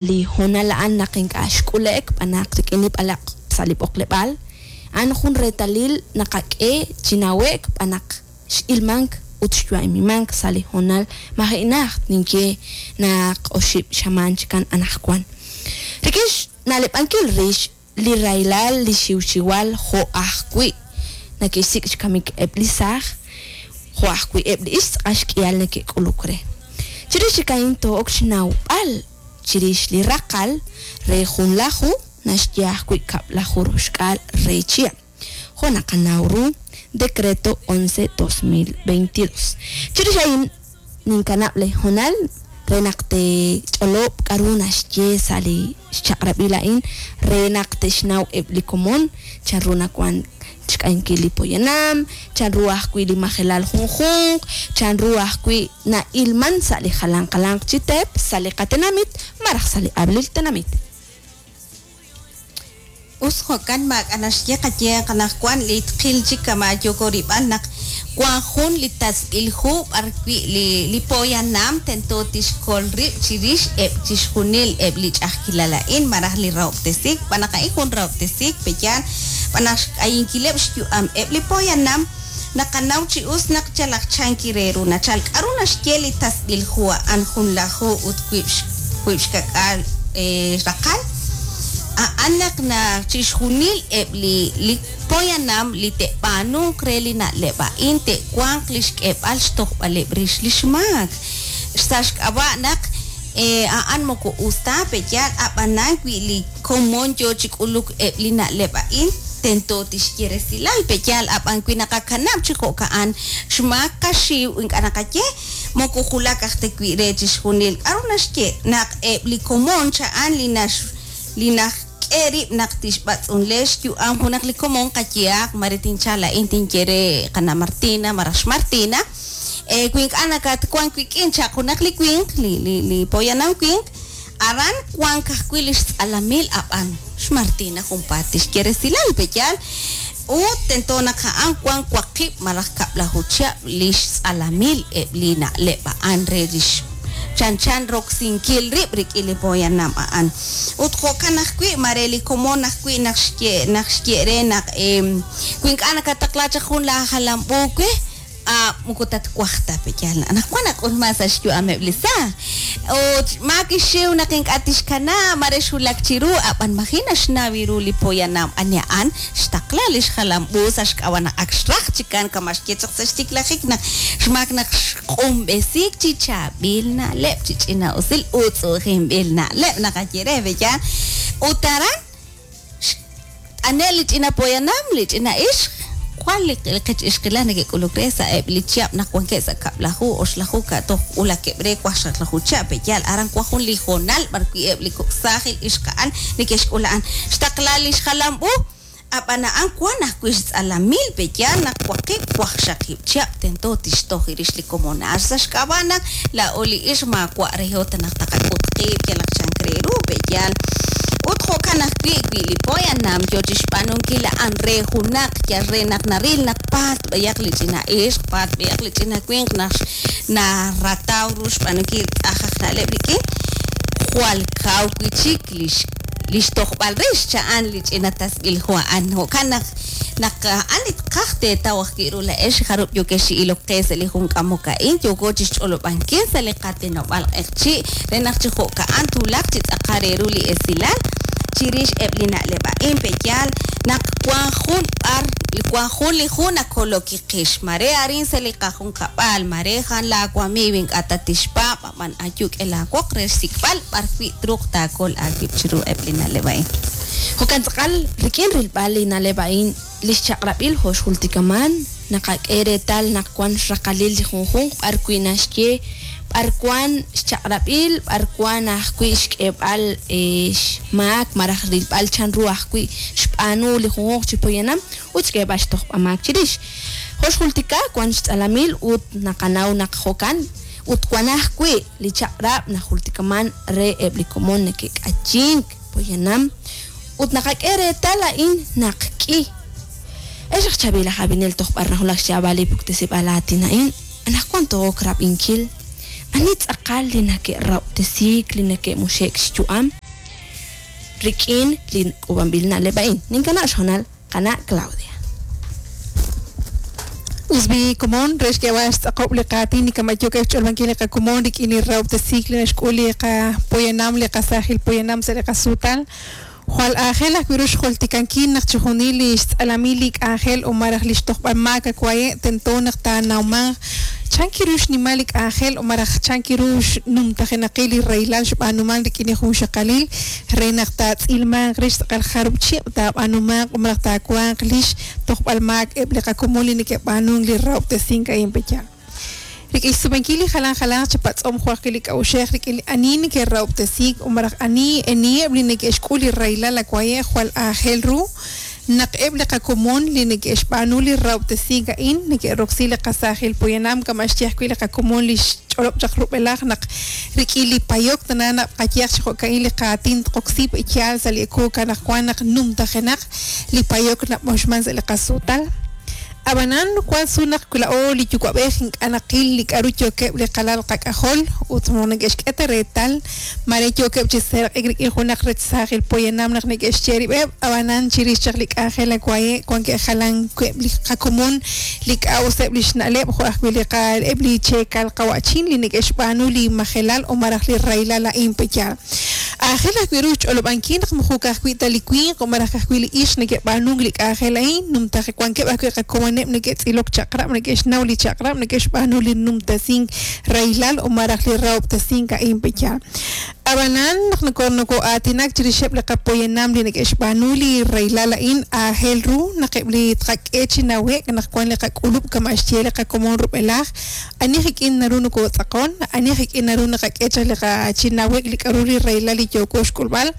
Li hoonal a'an naq ink'a' xk'ule'k b'anaq rik'in li b'alaq' sa' li b'oqleb'aal, a'an jun reetalil naqak'e chi nawe'k b'anaq x'ilmank ut xyu'amimank sa' li hoonal maji' najt ninye naq oxib' xamaan chikan anaqwan. Rik'in xna'leb'ankil rix li rahilal li xiwxiwal jo' ajwi' nake'xsik' xkamik eb' li saaj, jo' ajwi' eb' li ixq tz'aqal xk'ihal neke'k'uluk re. Chirix chik a'in too'ok xnawb'al chirix li raqal re junlaju naxye ajwi' kab'laju roxk'aal re chihab', jo' naqanaw ru Decreto 11 2022. Chirix a'in ninkanab' lee hoonal re naq teech'olob' k'a'ru naxye sa' li xchaq'rab'il a'in re naq te'xnaw eb' li komon chan ru nawan xk'ayinkil li poyanam, chan ru ajwi' li majelal junjunq, chan ru ajwi' na'ilman sa' li jalanq jalanq chi teep sa' li qatenamit malaj sa' li ab'lil tenamit. Us jo'kan maak'a' naxye qayehaq anaqwan li tqil chik kama' yooko rilb'al naq wan jun li tasb'il hu b'ar wi' li li poyanam tento tixkol rib' chi rix eb' chi xjunil eb' li ch'a'ajkilal a'in malaj li rahob'tesiik xb'aan naq a'in jun rahob'tesiik pe'yaal xb'aan naq xk'ayinkileb' xyu'am eb' li poyanam naqanaw chi us naq yalaq chanki re ru nachal k'a'ru naxye li tasb'il hu a'an junlaju ut wiib' wiib' xka'k'aal raqal a'an naq naq chi xjunil eb' li li poyanam li te'b'aanunq re li na'leb' a'in te'wanq li xk'eeb'al xtojb'aleb' rix li xmaak sa' xk'ab'a' naq a'an moko us ta pe'yaal ab'anan wi' li komon yo chi k'uluk eb' li na'leb' a'in tento tixye resilal pe'yaal ab'an wi naqakanab' chi jo'ka'an xmaak qaxiw ink'a' naqaye moko julak aj ta wi' re chi xjunil k'a'ru naxye naq eb' li komon cha'an li nax li naxk'e rib' naq tixb'atz'unle xyu'am junaq li komon qayehaq mare tinchal laa'in tinye re qana' Martina malaj xMartina wi ink'a' nakatwank wik'in chaq junaq li winq li li li poyanam winq aran wank ajwi' li xtz'alamil ab'an xMartina junpaat tixye resilal pe'yaal ut tento naq a'an wank waqib' malaj kab'laju chihab' li xtz'alamil eb' li na'leb' a'an re lix chanchan roksinkil rib' rik'in li poyanam a'an ut jo'kan ajwi' mare li komon ajwi' naq xye naq xye re naq wi ink'a' nakataqla chaq jun laajalam u we moko tatwaj ta pe'yaal anaqwan nak'ulman sa' xyu'ameb' li saaj ut maak xiw naq ink'a' tixkanab' mare xwulak chiru ab'an maji' naxnaw ru li poyanam ani a'an xtaqla li xjalam u sa' xk'ab'a' naq ak xraj chikan kama' xye chaq sa' xtiklajik naq xmaak naq xq'unb'esiik chi chaab'il na'leb' chi ch'ina'usil utz'u'ujinb'il na'leb' naqaye re pe'yaal ut aran xt'ane' li ch'ina poyanam li ch'ina ixq jwal li qech ixqilal neke'k'uluk re sa' eb' li chihab' naq wankeb' sa' kab'laju oxlaju ka' toj wulakeb' re waqxaqlaju chihab' pe'yaal aran wan jun li hoonal b'ar wi' eb' li kok' saajil ixqa'al neke'xk'ul a'an xtaqla li xjalam u ab'an a'an wan ajwi' xtz'alamil pe'yaal naq waqib' waqxaqib' chihab' tento tixtoj rix li komon a'an sa' xk'ab'a' naq laa'o li ixq maawa' reho ta naq taqak'ut qib' yalaq chank re ru pe'yaal ut jo'kan ajwi' wi li poyanam yo chi xb'aanunkil a'an re junaq yal re naq naril naq paat b'ayaq li ch'ina ixq paat b'ayaq li ch'ina winq naq narataw ru xb'aanunkil tz'aj aj na'leb' rik'in jwal kaw wi' chik li li xtojb'al rix cha'an li ch'ina tasb'il hu a'an jo'kan naq naq a'an li tqaj teetaw ajwi' ru laa'ex jarub' yookex chi ilok qe sa' li jun k'amok a'in yooko chi xch'olob'ankil sa' li qatinob'aal q'eqchi' re naq chi jo'ka'an twulaq chi tz'aqal re ru li esilal chirix eb' li na'leb' a'in pe'yaal naq wan jun b'ar wan jun li hu nakoloki qix mare arin sa' li qajunkab'al mare jan laawamiiw ink'a' tatixpaab' ab'an ayu k'e laawoq re xsik'b'al b'ar wi' truuq taakol aawib' chiru eb' li na'leb' a'in. Jo'kan tz'aqal rik'in rilb'al li na'leb' a'in li xchaq'rab'il jo' xjultikaman naqak'e reetal naq wan xraqalil li junjunq b'ar wi' naxye b'ar wan xchaq'rab'il b'ar wan ajwi' xk'eeb'al xmaak malaj rilb'al chan ru ajwi' xb'aanu li junjunq chi poyanam ut xk'eeb'al xtojb'amaak chirix. Jo' xjultika wan xtz'alamil ut naqanaw naq jo'kan ut wan ajwi' li chaq'rab' najultikaman re eb' li komon neke'k'ayink poyanam ut naqak'e reetal a'in naq k'i. Ex aj chaab'il aj ab'inel toj b'ar najulak xyaab'al li puktesib'aal aatin a'in anaqwan to'ok rab'inkil. Ani tz'aqal li nake'rahob'tesiik li nake'muxe'k xyu'am rik'in li k'uub'anb'il na'leb' a'in? Ninkanab' xhoonal qana' Claudia. Us b'i komon re xk'eeb'al xtz'aqob' li qaatin li kama' yookeb' xch'olb'ankil li qakomon rik'in li rahob'tesiik li naxk'ul li qapoyanam li qasaajil poyanam sa' li qasuutal. Jwal aajel ajwi' ru xjultikankil naq chixjunil li xtz'alamil li k'anjel o malaj li xtojb'al maak awaye' tento naq taanawmanq chan kiru xnimal li k'anjel o malaj chan kiru xnumtajenaqil li rahilal xb'aanuman rik'in li junxaqalil re naq taatz'ilmanq rix tz'aqal jarub' chib' taab'aanumanq o malaj taawanq lix tojb'al maak eb' li qakomon li neke'b'aanunk li rahob'tesink a'in pe'yaal. Rik'in xsumenkil li jalan jalanq chi patz'om jo' ajwi' li k'a'uxej rik'in li ani neke'rahob'tesiik o malaj ani aniheb' li neke'xk'ul li rahilal awaye' jwal aajel ru naq eb' li qakomon li neke'xb'aanu li rahob'tesiik a'in neke'roksi li qasaajil poyanam kama' xye ajwi' li qakomon li xch'olob' chaq rub'elaj naq rik'in li payok tana naq qayehaq chi jo'ka'in li qaatin tqoksi pe'yaal sa' li ekuuk anaqwan naq numtajenaq li payok nab'oxman sa' li qasuutal. Ab'anan wan su naq la'o li yuwa'b'ej ink'a' naqil li k'a'ru yookeb' li qalal qak'ajol ut mo neke'xk'e ta reetal mare yookeb' chi seeraq'ik rik'in junaq rech saajil poyanam naq neke'xye rib'eb' ab'anan chirix chaq li k'anjel awaye' wankeb' jalan web' li qakomon li k'a'useb' li xna'leb' jo' ajwi' li qa eb' li cheekal qawa'chin li neke'xb'aanu li majelal o malaj li rahilal a'in pe'yaal. Aajel ajwi' ru xch'olob'ankil naq moko ka'ajwi' ta li winq o malaj ka'ajwi' li ixq neke'b'aanunk li k'anjel a'in numtaje wankeb' ajwi' qakomoneb' neke'tz'ilok chaq'rab' neke'xnaw li chaq'rab' neke'xb'aanu li numtasink rahilal o malaj li rahob'tesink a'in pe'yaal. Ab'anan naq noko'aatinak chirixeb' li qapoyanam li neke'xb'aanu li rahilal a'in aajel ru naq eb' li tqak'e chi nawe'k naq wan li qak'ulub' kama' xye li qakomon rub'elaj ani rik'in naru nokotz'aqon ani rik'in naru naqak'e chaq li qa chi nawe'k li k'a'ru li rahilal li yooko xk'ulb'al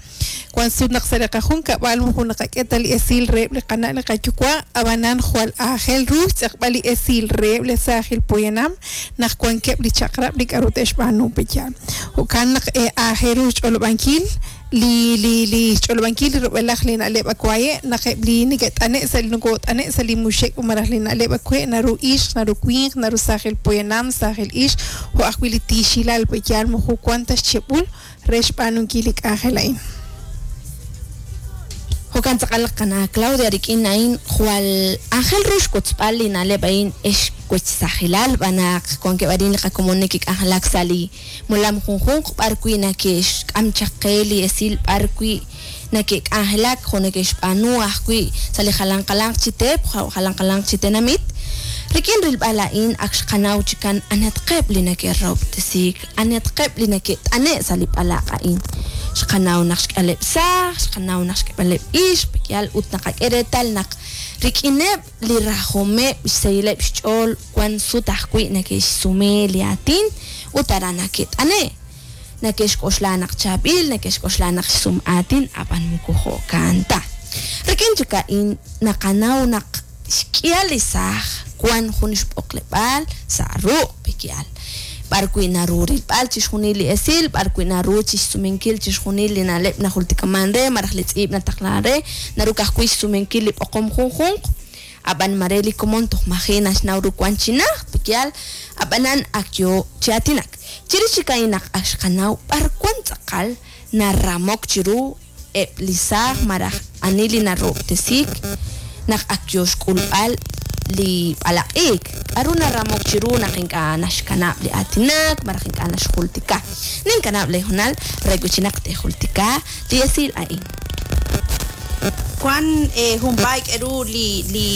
wan sut naq sa' li qajunkab'al moko naqak'e ta li esil reheb' li qana' li qayuwa' ab'anan jwal aajel ru xtz'eqb'al li esil reheb' li saajil poyanam naq wankeb' li chaq'rab' li k'a'ru te'xb'aanu pe'yaal. Jo'kan naq aajel ru xch'olob'ankil li li li xch'olob'ankil li rub'elaj li na'leb' awaye' naq eb' li neke't'ane' sa' li nokot'ane' sa' li muxek malaj li na'leb' awe' naru ixq naru winq naru saajil poyanam saajil ixq jo' ajwi' li tiixilal pe'yaal moko wan ta xcheb'ul re xb'aanunkil li k'anjel a'in. Jo'kan tz'aqal qana' Claudia rik'in a'in jwal aajel ru xwotzb'al li na'leb' a'in ex wechsajilal b'anaq wankeb' arin li qakomon neke'k'anjelak sa' li molam junjunq b'ar wi' nake'xk'am chaq qe li esil b'ar wi' nake'k'anjelak jo' neke'xb'aanu ajwi' sa' li jalan jalanq chi teep jalan jalanq chi tenamit rik'in rilb'al a'in ak xqanaw chikan anatqeb' li neke'rahob'tesiik anatqeb' li neke't'ane' sa' li b'alaq' a'in. Xqanaw naq xk'aleb' saaj, xqanaw naq xk'aleb' ixq, pe'yaal ut naqak'e reetal naq rik'ineb' li rajomeb' xsahileb' xch'ool wan sut ajwi' neke'xsume li aatin ut aran nake't'ane'. Neke'xk'oxla naq chaab'il, neke'xk'oxla naq xsum aatin, ab'an moko jo'kan ta. Rik'in chik a'in naqanaw naq xk'ihal li saaj wan jun xb'oqleb'aal sa' ruq' pe'yaal. B'ar wi' naru rilb'al chixjunil li esil, b'ar wi' naru chixsumenkil chixjunil li na'leb' najultikaman re, malaj li tz'iib' nataqlan re, naru ka'ajwi' xsumenkil li b'oqom junjunq, ab'an mare li komon toj maji' naxnaw ru wan chi najt, pe'yaal, ab'anan ak yo chi aatinak. Chirix chik a'in naq ak xqanaw b'ar wan tz'aqal naramok chiru eb' li saaj malaj ani li narahob'tesiik naq ak yo xk'ulb'al li b'alaq'iik. K'a'ru naramok chiru naq ink'a' naxkanab' li aatinak malaj ink'a' naxjultika. Ninkanab' li hoonal re wi' chi naq te'jultika li esil a'in. Wan junpaay k'eru li li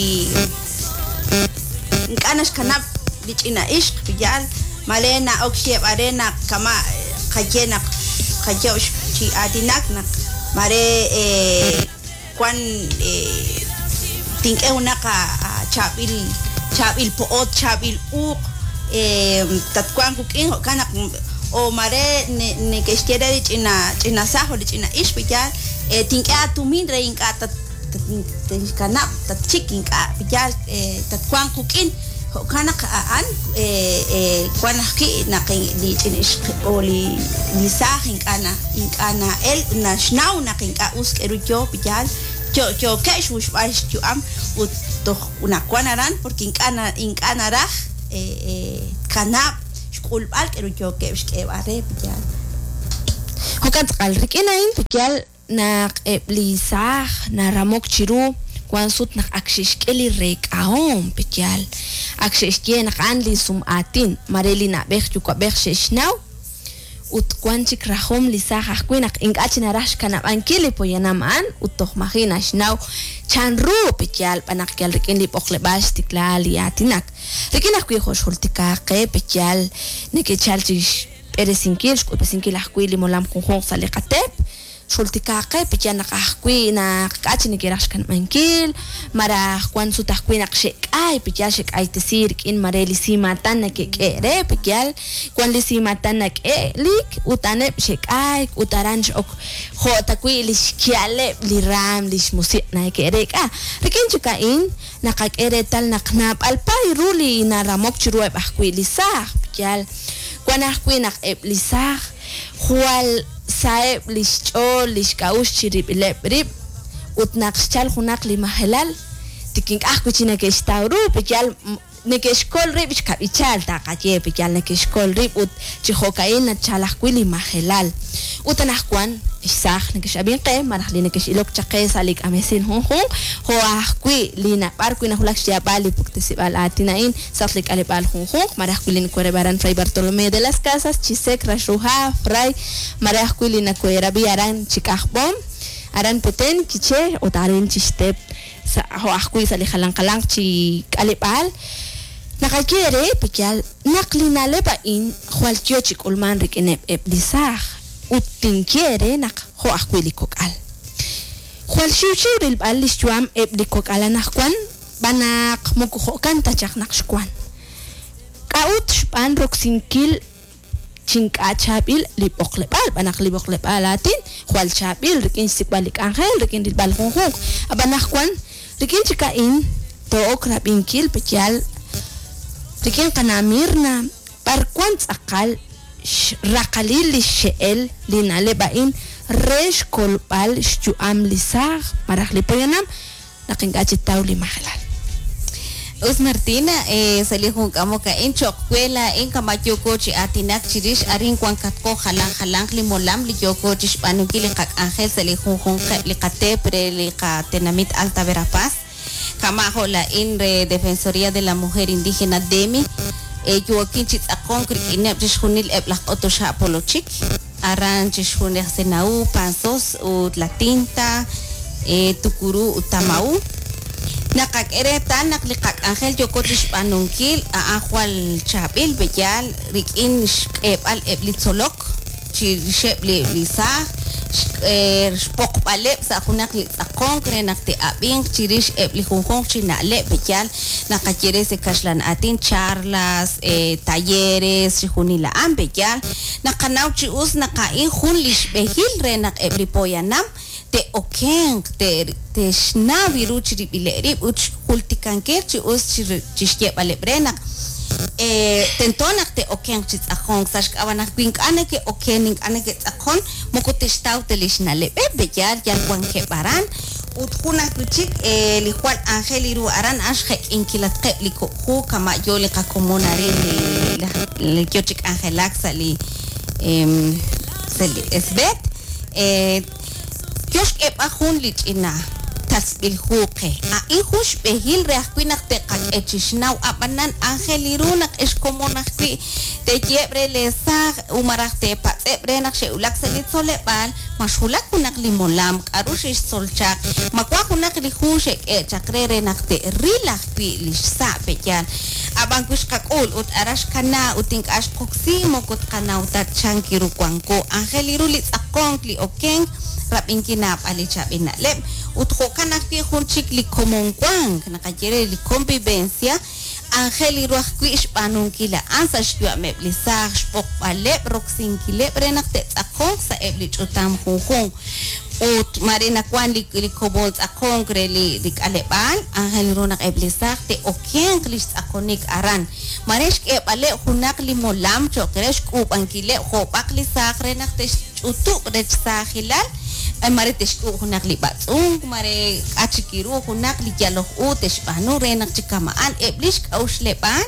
ink'a' naxkanab' li ch'ina ixq pe'yaal mare na'ok xyeeb'al re naq kama' qaye naq qayob' chi aatinak naq mare wan tink'e junaq chaab'il chaab'il po'ot chaab'il uuq tatwanq wuk'in jo'kan naq o mare neke'xye re li ch'ina ch'ina saaj o li ch'ina ixq pe'yaal tink'e atumin re ink'a' tatxkanab' tatchik ink'a' pe'yaal tatwanq wuk'in jo'kan naq a'an wan ajwi' naq li ch'ina ixq o li li saaj ink'a' na ink'a' na'el naxnaw naq ink'a' us k'eru yo pe'yaal yookeb' xmuxb'al xyu'am ut toj naq wan aran porque ink'a' na ink'a' naraj kanab' xk'ulb'al k'aru yookeb' xk'eeb'al re piyal. Jo'kan tz'aqal rik'in a'in piyal naq eb' li saaj naramok chiru wan sut naq ak xe'xk'e li reek'ahom piyal ak xe'xye naq a'an li sum'aatin mare li na'b'ej yuwa'b'ej xe'xnaw ut wan chik rajom li saaj ajwi' naq ink'a' chi naraj xkanab'ankil li poyanam a'an ut toj maji' naxnaw chanru piyal b'an naq yal rik'in li b'oqleb'aal xtikla li aatinak rik'in ajwi' jo' xjultika qe piyal neke'chal chi xb'eresinkil xk'utb'esinkil ajwi' li molam junjunq sa' li qateep xjultika qe piyal naq ajwi' naq k'a' chi neke'raj xkanab'ankil maraj wan sut ajwi' naq xe'k'ay piyal xe'k'aytesi rik'in mare li simatan neke'k'e re piyal wan li simatan nak'e'lik ut a'aneb' xe'k'ayk ut aran x'ok jo' ta wi' li xki'aleb' li raam li xmusiq' neke'reek'a rik'in chik a'in naqak'e reetal naq naab'al paay ru li naramok chiruheb' ajwi' li saaj piyal wan ajwi' naq eb' li saaj jwal saheb' li xch'ool li xk'a'uxl chirib'ileb' rib' ut naq xchal junaq li majelal tik ink'a' ajwi' chi neke'xtaw ru piyal neke'xkol rib' xkab'ichal taqaye piyal neke'xkol rib' ut chi jo'ka'in nachal ajwi' li majelal ut anaqwan xsaaj neke'xab'in qe malaj li neke'xilok chaq qe sa' li k'amesin junjunq jo' ajwi' li b'ar wi' najulak xyaab'al li puktesib'al aatin a'in sa' li k'aleb'aal junjunq malaj ajwi' li nakoherab'i aran Fray Bartolomé de las Casas Chisec Raxruhá Fray malaj ajwi' li nakoherab'i aran Chik'ajb'om aran Petén Quiché ut aran Chixtep jo' ajwi' sa' li jalan jalanq chi k'aleb'aal naqaye re piyal naq li na'leb' a'in jwal yo chi k'ulman rik'ineb' eb' li saaj ut tinye re naq jo' ajwi' li kok'al jwal xiwxiw rilb'al li xyu'am eb' li kok'al anaqwan b'an naq moko jo'kan ta chaq naq xwan k'a'ut xb'aan roksinkil chink'a' chaab'il li b'oqleb'aal b'an naq li b'oqleb'aal aatin jwal chaab'il rik'in xsik'b'al li k'anjel rik'in rilb'al junjunq ab'an anaqwan rik'in chik a'in to'ok rab'inkil piyal rik'in qana' Mirna b'ar wan tz'aqal xraqalil li xxe'el li na'leb' a'in re xkolb'al xyu'am li saaj malaj li poyanam naq ink'a' chi taw li majelal. Us Martina, sa' li junk'amok a'in cho'q we laa'in kama' yooko chi aatinak chirix arin wan katqo jalan jalanq li molam li yooko chi xb'aanunkil li qak'anjel sa' li junjunqeb' li qateep re li qatenamit Alta Verapaz kama' jo' laa'in re Defensoría de la Mujer Indígena DEMI yookin chi tz'aqonk rik'ineb' chixjunil eb' laj q'otoxa' polochik aran chixjunil Senaú, Panzós ut La Tinta, Tucurú ut Tamaú naqak'e reetal naq li qak'anjel yooko chi xb'aanunkil a'an jwal chaab'il b'eyal rik'in xk'eeb'al eb' li tzolok chirixeb' li saaj xpoqb'aleb' sa' junaq li tz'aqonk re naq te'ab'inq chirix eb' li junjunq chi na'leb' b'eyal naqaye re sa' kaxlan aatin charlas, talleres, chixjunil a'an b'eyal naqanaw chi us naq a'in jun li xb'ehil re naq eb' li poyanam te'okenq te'xnaw ru chirib'ileb' rib' ut xjultikankil chi us chixyeeb'aleb' re naq tento naq te'okenq chi tz'aqonk sa' xk'ab'a' naq wi ink'a' neke'oken ink'a' neke'tz'aqon moko te'xtaw ta li xna'leb'eb' b'eyal yal wankeb' aran ut jun ajwi' chik li jwal anjel ru aran a'an xjek'inkilatqeb' li kok' hu kama' yo li qakomon arin li yo chi k'anjelak sa' li SBET yo xk'eeb'al jun li ch'ina tasb'il hu qe a'in jun xb'ehil re ajwi' naq te'qak'e chixnaw ab'anan anjel ru naq ex komon ajwi' teyeeb' re le saaj u malaj teepatz'eb' re naq xe'wulak sa' li tzoleb'aal ma xwulak junaq li molam k'aru xe'xtzol chaq ma wan junaq li hu xe'k'e chaq re re naq te'ril ajwi' li xsa' b'eyal ab'an wi xqak'ul ut ara xkana ut ink'a' xqoksi moko tqanaw ta chan kiru wanko anjel ru li tz'aqonk li okenk rab'inkil naab'al li chaab'il na'leb' ut jo'kan ajwi' jun chik li komon wank naqaye re li convivencia anjel ru ajwi' xb'aanunkil a'an sa' xyu'ameb' li saaj xb'oqb'aleb' roksinkileb' re naq te'tz'aqonq sa' eb' li ch'utam junjunq ut mare nawan li komon tz'aqonk re li k'aleb'aal anjel ru naq eb' li saaj te'okenq li xtz'aqonik aran mare xk'eeb'aleb' junaq li molam cho'q re xk'uub'ankileb' jo'b'aq li saaj re naq te'xch'utub' rech saajilal mare te'xk'uub' junaq li b'atz'unk mare k'a' chik ru junaq li yaloj u te'xb'aanu re naq chi kama'an eb' li xk'a'uxleb'aal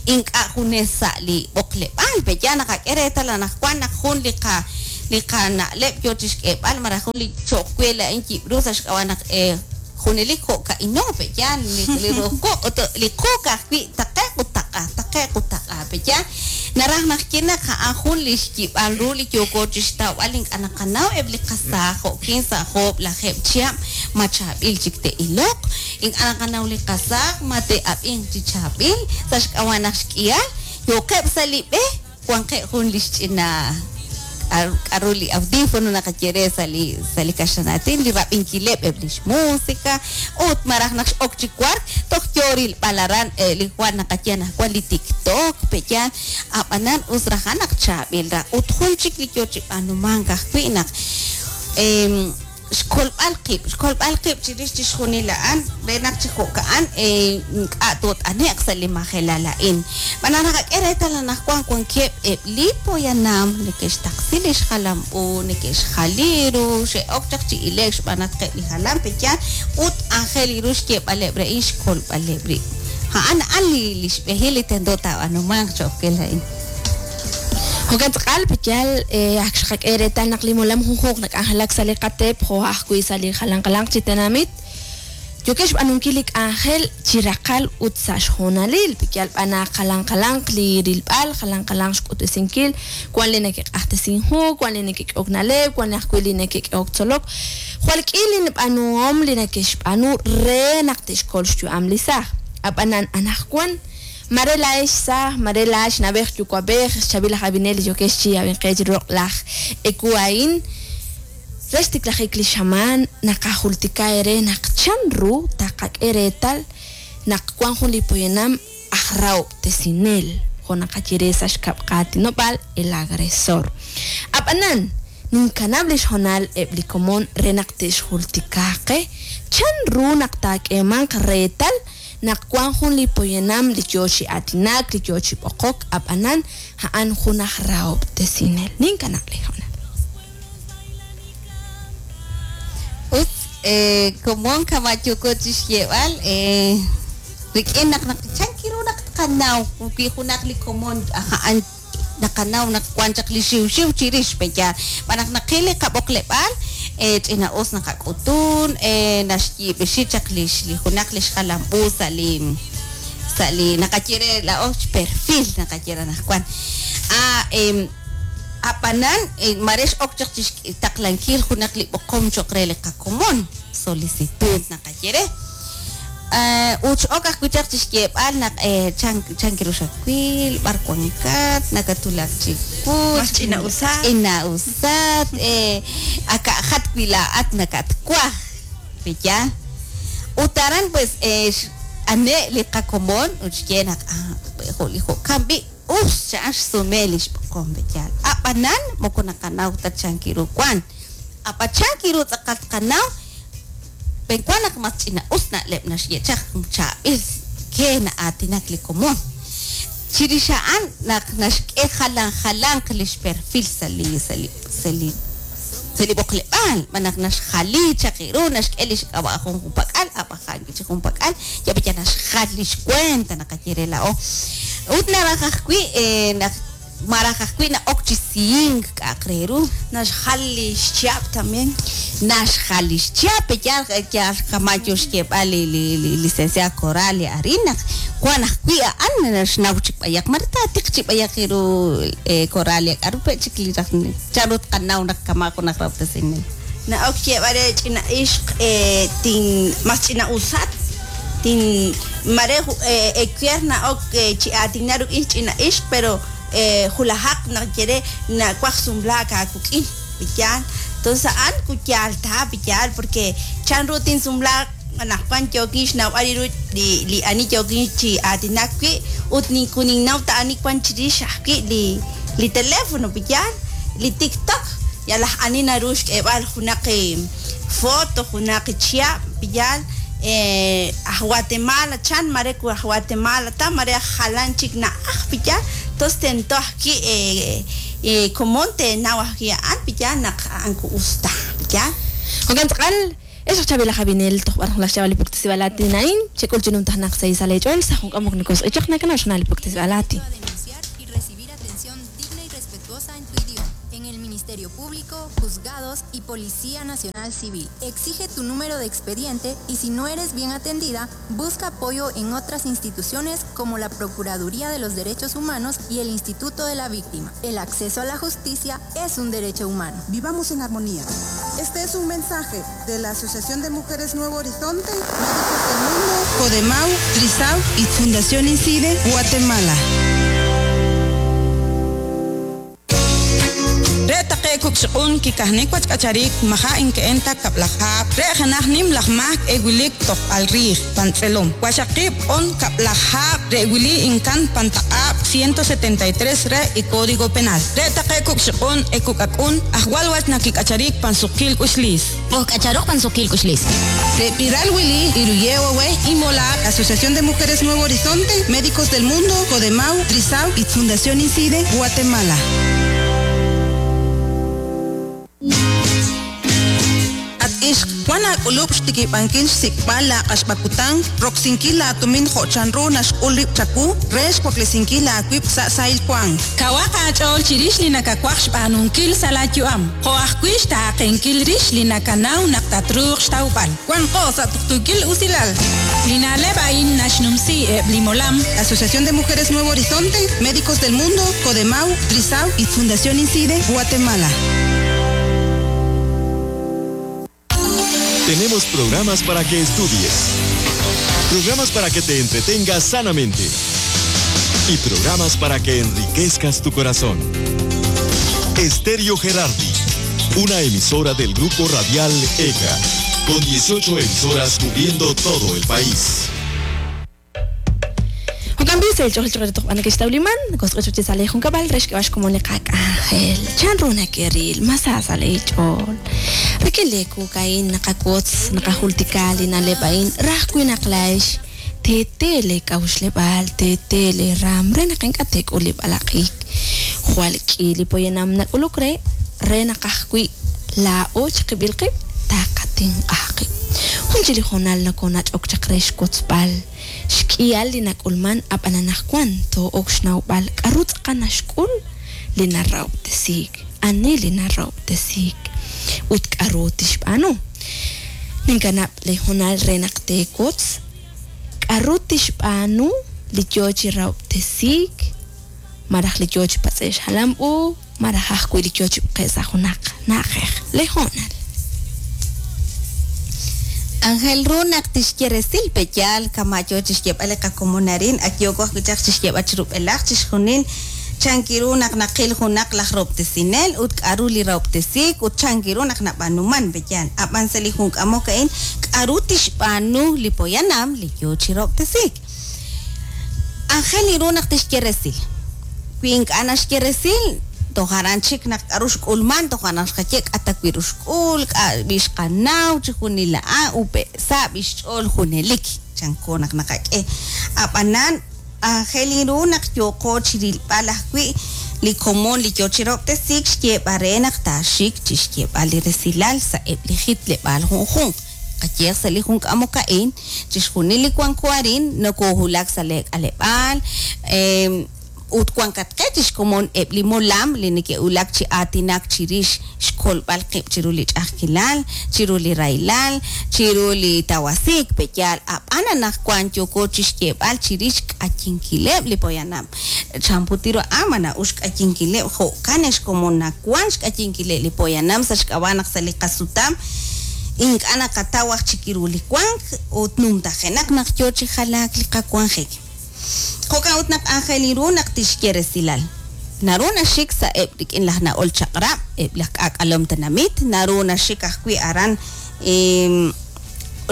Ink'a' junes sa' li b'oqleb'aal pe'yaal naqak'e reetal anaqwan naq jun li qa li qana'leb' yo chixk'eeb'al malaj jun li cho'q we laa'in yib'ru sa' xk'ab'a' naq junelik jo'ka'ino pe'yaal li ru'uj quq' ut li quq ajwi' taqe'q ut taq'a taqe'q ut taq'a pe'yaal naraj naq ye naq a'an jun li xyib'al ru li yooko chixtawb'al ink'a' naqanaw eb' li qasaaj jo'kin sa' 9 chihab' ma chaab'il chik te'iloq ink'a' naqanaw li qasaaj ma te'ab'inq chi chaab'il sa' xk'ab'a' naq xk'ihal yooqeb' sa' li b'e wanqeb' jun li xch'ina k'aru li audífono naqaye re sa' li kaxlanaatin li rab'inkileb' eb' lix música ut maraj naq x'ok chi wark toj yo rilb'al aran li jwal naqaye anaqwan li TikTok pe'yaal ab'anan us rajan naq chaab'il ra ut jun chik li yo chi b'aanumank ajwi' naq xkolb'al qib' chirix chixjunil a'an re naq chi jo'ka'an ink'a' toot'ane'q sa' li majelal a'in. B'an naqak'e reetal anaqwan wankeb' eb' li poyanam neke'xtaqsi li xjalam-u, neke'xjali ru, xe'ok chaq chi ile'k xb'aan naq qeb' li jalan pe'yaal ut aajel ru xyeeb'aleb' re a'in xkolb'aleb' rib'. A'an a'an li xb'ehil li tento taab'aanumanq cho'q kel a'in. Jo'kan tz'aqal pe'yaal ak xqak'e reetal naq li molam junjunq nak'anjelak sa' li qateep jo' ajwi' sa' li jalanqalanq chi tenamit yookeb' xb'aanunkil li k'anjel chi raqal ut sa' xhoonalil pe'yaal b'an naq jalanqalanq li rilb'al jalanqalanq xk'utb'esinkil wan li neke'q'ajtesin hu wan li neke'k'ehok na'leb' wan ajwi' li neke'k'ehok tzolok jwal k'i li b'aanuhom li neke'xb'aanu re naq te'xkol xyu'am li saaj ab'anan anaqwan mare laa'ex saaj, mare laa'ex nab'ej yuwa'b'ej, xchaab'il laj ab'inel li yokex chi ab'inqej roq' laj eku'ain re xtiklajik li xamaan naqajultika eere naq chan ru taqak'e reetal naq wan jun li poyanam aj rahob'tesinel jo' naqaye re sa' xkab' qaatinob'aal el agresor. Ab'anan ninkanab' li xhoonal eb' li komon re naq te'xjultikaaqe chan ru naq taak'eemanq reetal naq wan jun li poyanam li yo chi aatinak li yo chi b'oqok ab'anan a'an jun aj rahob'tesinel. Ninkanab' li hoonal. Ut komon kama' yooko chi xyeeb'al rik'in naq chan kiru naq tqanaw wi junaq li komon a'an naqanaw naq wan chaq li xiwxiw chirix pe'yaal b'an naq naqil li qab'oqleb'aal ch'ina'us naqak'utun naxyiib'ixi chaq li junaq li xjalam-u sa' li naqaye re laa'o xperfil naqaye re anaqwan ab'anan mare x'ok chaq chi xtaqlankil junaq li b'oqom cho'q re li qakomon solicitud naqaye re ut x'ok ajwi' chaq chi xyeeb'al naq chan kiru xawil b'ar wankat nakatulak chiwu ch'ina'usat aka'jat wi laa'at nakatwaj pe'yaal ut aran pues ane' li qakomon ut xye naq jo' li jo'kan b'i' us cha'an xsume li xb'oqom pe'yaal ab'anan moko naqanaw ta chan kiru wan ab'an chan kiru tz'aqal tqanaw penwan naq mas ch'ina'us na'leb' naxye chaq chaab'il ke na'aatinak li komon chirix a'an naq naxk'e jalanjalanq li xperfil sa' li b'oqleb'aal b'an naq naxjali chaq ru naxk'e li xk'ab'a' jun junpak'al ab'ajan chi junpak'al ya pe'yaal naxjal li xkuenta naqaye re laa'o ut naraj ajwi' naq maraj ajwi' na'ok chi sihink k'a'aq re ru naxjal li xchihab' también naxjal li xchihab' pe'yaal yaal kama' yo xyeeb'al li licenciada Coralia arin naq wan ajwi' a'an naxnaw chik b'ayaq mare taatiq chi b'ayaq ru Coralia k'aru pe' chik li raj chan ru tqanaw naq kama' jun aj rahob'tesinel na'ok xyeeb'al re ch'ina ixq tin mas ch'ina'usat tin mare ekier na'ok chi aatinak ruk'in ch'ina ixq pero julajaq naq yere nawaj sumlaak aakuk'in pe'yaal entonces a'an kuyaal ta pe'yaal porque chan ru tinsumlaak anaqwan yookin xnawb'al ru li ani yookin chi aatinak wi' ut ninkuninnaw ta ani wan chirix ajwi' li teléfono pe'yaal li TikTok yalaj ani naru xk'eeb'al junaq foto junaq chihab' pe'yaal aj Guatemala chan mare ku aj Guatemala ta mare aj jalan chik na'aj pe'yaal entonces tento ajwi' komon tenaw ajwi' a'an pe'yaal naq a'an ku us ta pe'yaal Jo'kan tz'aqal Ex aj chaab'il aj ab'inel toj b'ar laj xch'ab'al li puktesib'aal aatin a'in, xek'ul chi numtajenaq sa' isal eech'ool sa' jun k'amok nokosq'ichaq nakanaw xna'al li puktesib'aal aatin. a denunciar y recibir atención digna y respetuosa en tu idioma. En el Ministerio Público, juzgados y Policía Nacional Civil. Exige tu número de expediente y si no eres bien atendida, busca apoyo en otras instituciones como la Procuraduría de los Derechos Humanos y el Instituto de la Víctima. El acceso a la justicia es un derecho humano. Vivamos en armonía. Este es un mensaje de la Asociación de Mujeres Nuevo Horizonte, Médicos del Mundo, Codemau, Trisau y Fundación Incide, Guatemala. Re taqe kukxuq'un kikajnik wachk'acharik maja inke'enta kab'lajab' re janaj nim laj mak ewilik tojb'al riij pantz'elom waxaqib' on kab'lajab' re wili inkan pantaq'ab' 173 re y Código Penal re taqe kukxuq'un ekuk'ak'un ajwal wach nakik'acharik pansuqil k'uxlis Ojk'acharoj pansukil k'uxlis. Repiral Willy, Iruyewe, Imola, Asociación de Mujeres Nuevo Horizonte, Médicos del Mundo, Codemau, Trisau y Fundación Incide, Guatemala. At ixq wan aak'ulub' xtikib'ankil xsik'b'al laaq'axb'akutan roksinkil laatumin jo'chanru naxk'ul rib' chaku re xwaklesinkil aawib' sa' sahil wank. Kawaq aach'ool chirix li nakawaj xb'aanunkil sa' laayu'am jo' ajwi' xtaaqenkil rix li nakanaw naq tatruuq xtawb'al wanqo sa' tuqtuukil usilal li na'leb' a'in naxnumsi eb' li molam Asociación de Mujeres Nuevo Horizonte, Médicos del Mundo, Codemau, Trisau y Fundación Incide, Guatemala. Tenemos programas para que estudies, programas para que te entretengas sanamente y programas para que enriquezcas tu corazón. Estéreo Gerardi, una emisora del grupo radial ECA, con 18 emisoras cubriendo todo el país. Juan cambio el chol chol toj b'an kixtawliman kosq'ich chi sale jun kab'al re xk'eb'ax como li qak'anjel chan ru nakeril masa sale ch'ol rik'in le kukain naqakotz naqajultika li na'leb' a'in raj wi naqlax tete le k'awxleb'al tete le ram re naq ink'a' tek'ul li b'alaq'ik jwal k'i li poyanam nak'uluk re re naqaj wi laa'o chiqib'il qib' taqatinq'aj qib' jun chi li jonal nakonach'ok chaq re xkotzb'al xk'ihal li nak'ulman ab'an anajwan to'ok xnawb'al k'aru tz'aqal naxk'ul li narahob'tesiik ani li narahob'tesiik ut k'aru tixb'aanu ninkanab' li jonal re naq teekotz k'aru tixb'aanu li yoo chi rahob'tesiik maraj li yoo chi patz'e' xjalam u maraj ajwi' li yoo chi b'qe' sa' junaq na'ajej li jonal Ángel ru naq tixye resil peyal kamayo chixyeb'al li qakomonarin ak yooko ajwi' chaq chixyeb'al chirub'elaj chixjunil chankiru naq naqil junaq laj rahob'tesinel ut k'aru li rahob'tesiik ut chankiru naq nab'aanuman peyal ab'an sa' li jun k'amok a'in k'aru tixb'aanu li poyanam li yoo chi rahob'tesiik Ángel iru naq tixye resil wi ink'a' naxye resil toj aran chik naq k'aru xk'ulman toj aran xqaye k'ata wi ru xk'ul k'a b'ix qanaw chi junil a'an upe sa' b'ix ch'ool junelik chanko naq naqak'e ab'anan Ángel iru naq yooqo chirilb'al ajwi' li komon li yoo chi rahob'tesiik xyeeb'al re naq taaxik chixyeeb'al li resilal sa' eb' li jitleb'aal junjunq qayeq sa' li jun k'amok a'in chixjunil li wanko arin nokohulak sa' li k'aleb'aal ut wankatqe chixkomon eb' li molam li neke'wulak chi aatinak chirix xkolb'al qib' chiru li ch'a'ajkilal chiru li rahilal chiru li tawasiik peyal ab'an anaqwan yooko chixyeeb'al chirix k'ayinkileb' li poyanam chanputiru a'an mana'ux k'ayinkileb' jo'kan xkomon nawan xk'ayinkileb' li poyanam sa' xk'ab'a' naq sa' li qasutam ink'a' naqataw aj chik ru li wank ut numtajenaq naq yoo chi jalaak li qawanjik jo'kan ut naq aajel ru naq tixye resilal naru naxik sa' eb' rik'in laj na'ol chaq'rab' eb' laj k'aak'alom tenamit naru naxik ajwi' aran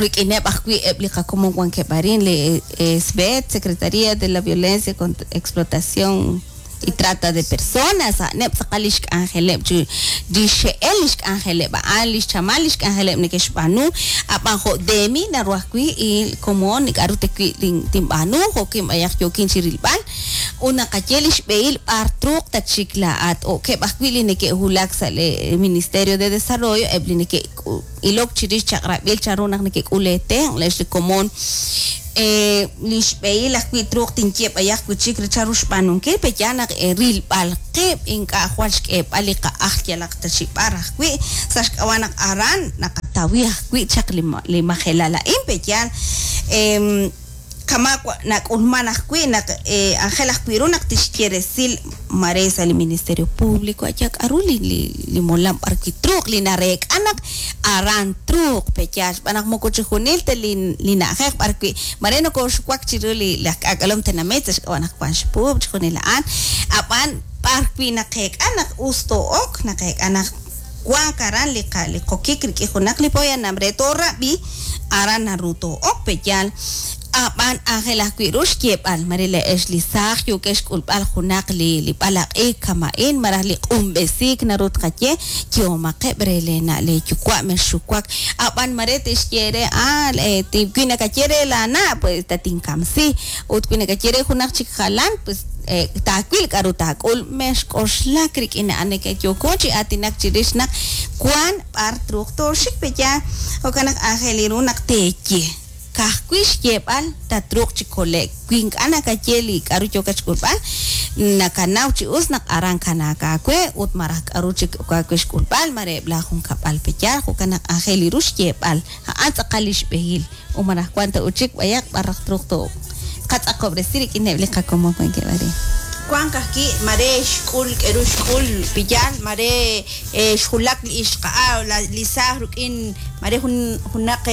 rik'ineb' ajwi' eb' li qakomon wankeb' arin li SBET Secretaría de la Violencia contra Explotación y Trata de Personas a'aneb' tz'aqal li xk'anjeleb' chi li xe'el li xk'anjeleb' a'an li xchamal li xk'anjeleb' neke'xb'aanu ab'an jo' demi naru ajwi' il komon k'aru tewi' tinb'aanu jo'kin b'ayaq yookin chi rilb'al Ut naqaye li xb'ehil b'ar truuq tatxik laa'at. O'keb' ajwi' li neke'wulak sa' li Ministerio de Desarrollo, eb' li neke'ilok chirix chaq'rab'il chanru naq neke'k'ul eetenq' leex li komon. Li xb'ehil ajwi' truuq tinye b'ayaq wi' chik re chanru xb'aanunkil, pe'yaal naq rilb'al qib' ink'a' jwal xk'eeb'al li qa'ajl yalaq ta chi b'ar ajwi', sa' xk'ab'a' naq aran naqatawi ajwi' chaq li majelal a'in, pe'yaal kama' nak'ulman ajwi' naq anjel ajwi' ru naq tixye resil mare sa' li Ministerio Público aya k'a'ru li molam b'ar wi' truuq li nareek'a naq aran truuq pe'yaal xb'aan naq moko chi junil ta li na'ajej b'ar wi' mare nokoxuwak chiru li laj k'aak'alom tenamit sa' xk'ab'a' naq wan xpuub' chi junil a'an ab'an b'ar wi' naqeek'a naq us too'ok naqeek'a naq wank aran li qokik rik'in junaq li poyanam re toorab'i aran naru too'ok pe'yaal ab'an aajel ajwi' ru xyeeb'al mare le'ex li saaj yookex xk'ulb'al junaq li b'alaq'iik kama'in malaj li q'unb'esiik naru tqaye yoomaqeb' re leena' leeyuwa' mexxuwak ab'an mare tixye re wi nakaye re laana' pues tatinkamsi ut wi nakaye re junaq chik jalan pues taawil k'a'ru taak'ul mexk'oxlak rik'in a'an neke'yooko chi aatinak chirix naq wan b'ar truuq tooxik pe'yaal jo'kan naq aajel ru naq teeye kajwi' xyeeb'al tatruuq chi kole'k wi ink'a' nakaye li k'a'ru yookat xk'ulb'al nakanaw chi us naq aran kanaak aawe ut malaj k'a'ru chik aawe xk'ulb'al mare eb' laajunkab'al pe'yaal jo'kan naq aajel ru xyeeb'al a'an tz'aqal li xb'ehil ut malaj wan ta ut chik b'ayaq b'ar raj truuq too qatz'aqob'resi rik'ineb' li qakomon wankeb' arin. Wank ajwi' mare xk'ul k'eru xk'ul piyal mare xjulak li ixqa'a li saaj rik'in mare junaq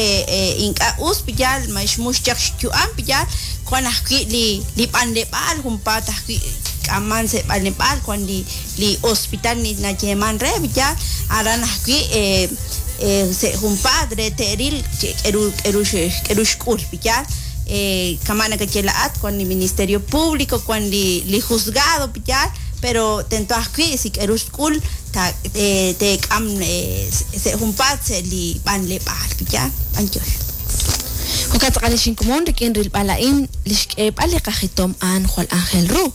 ink'a' us piyal ma xmux chaq xyu'am piyal wan ajwi' li b'anleb'aal junpaat ajwi' k'aman sa' b'anleb'aal wan li hospital nayeeman re piyal aran ajwi' sa' junpaat re te'ril k'eru xk'ul piyal kama' nakaye la'at wan li Ministerio Público wan li juzgado piyal pero tento ajwi' si k'eru xk'ul teek'am sa' junpaat sa' li b'anleb'aal piyal b'anyox. Jo'kan tz'aqal li xinkomon rik'in rilb'al a'in li xk'eeb'al li qajitom a'an jwal aajel ru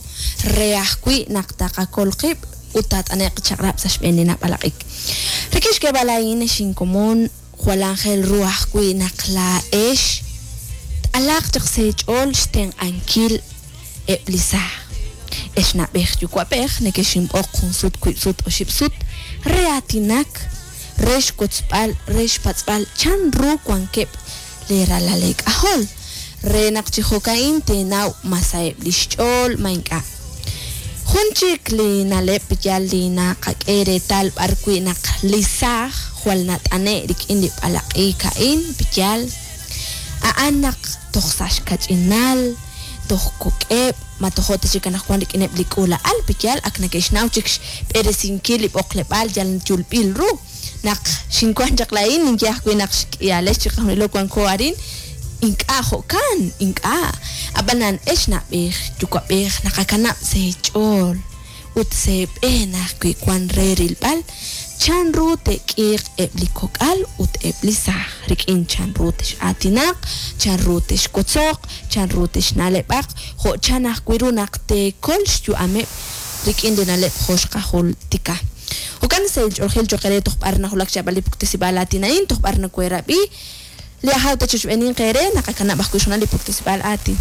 re ajwi' naq taqakol qib' ut taat'ane'q chaq'rab' sa' xb'een li nab'alaq'ik. Rik'in xk'eeb'al a'in xinkomon jwal aajel ru ajwi' naq laa'ex alaq chaq seech'ool xtenq'ankil eb' li saaj. Ex na'b'ej yuwa'b'ej nekexinb'oq jun sut wiib' sut oxib' sut re aatinak re xwotzb'al re xpatz'b'al chan ru wankeb' leeralal leek'ajol re naq chi jo'ka'in teenaw ma sa'eb' li xch'ool ma ink'a'. Jun chik li na'leb' yal li naqak'e reetal b'ar wi' naq li saaj jwal nat'ane' rik'in li b'alaq'iik a'in yal a'an naq toj sa' xkach'inal toj kok'eb' ma tojo' ta chik anaqwan rik'ineb' li k'uula'al piyal ak neke'xnaw chik xb'eresinkil li b'oqleb'aal yal yulb'il ru naq xinwan chaq laa'in ninye ajwi' naq xk'ihalex chiqajunilo wanko arin ink'a' jo'kan ink'a' ab'anan ex na'b'ej yuwa'b'ej naqakanab' seech'ool ut seeb'een ajwi' wan re rilb'al chan ru te'k'iiq eb' li kok'al ut eb' li saaj rik'in chan ru tex'aatinaq chan ru texwotzoq chan ru texna'leb'aq jo' chan ajwi' ru naq teekol xyu'ameb' rik'in li na'leb' jo' xqajultika. Jo'kan sa' ilch'oolajil cho'q re toj b'ar najulak xyab'al li puktesib'aal aatin a'in toj b'ar naweerab'i li ajaw ta chixb'eenin qeere naqakanab' ajwi' xjunal li puktesib'aal aatin.